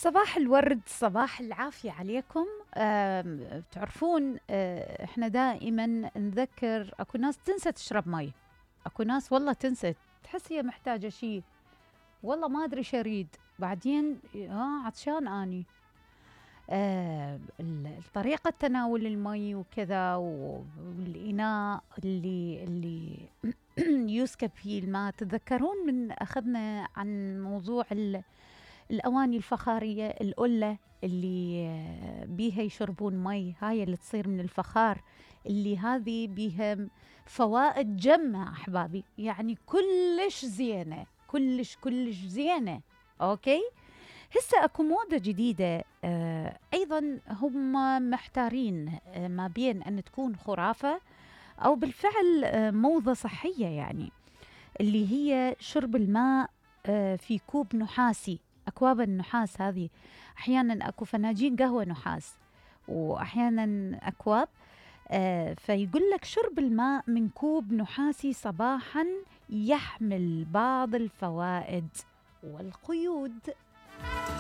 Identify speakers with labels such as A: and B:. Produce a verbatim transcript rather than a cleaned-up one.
A: صباح الورد، صباح العافية عليكم. آم، تعرفون آه، احنا دائما نذكر اكو ناس تنسى تشرب مي، اكو ناس والله تنسى، تحس هي محتاجة شي، والله ما ادري شريد، بعدين ها عطشان اني. آه، ال- طريقة تناول المي وكذا، والإناء اللي اللي يسكب فيه الماء. تتذكرون من أخذنا عن موضوع ال الأواني الفخارية، القلة اللي آه، بيها يشربون مي، هاي اللي تصير من الفخار، اللي هذه بيها فوائد جمة أحبابي، يعني كلش زينة، كلش كلش زينة. أوكي، هسه أكو موضة جديدة آه أيضا هم محتارين آه ما بين أن تكون خرافة أو بالفعل آه موضة صحية، يعني اللي هي شرب الماء آه في كوب نحاسي. أكواب النحاس هذه أحيانا أكو فناجين قهوة نحاس، وأحيانا أكواب آه فيقول لك شرب الماء من كوب نحاسي صباحا يحمل بعض الفوائد والقيود.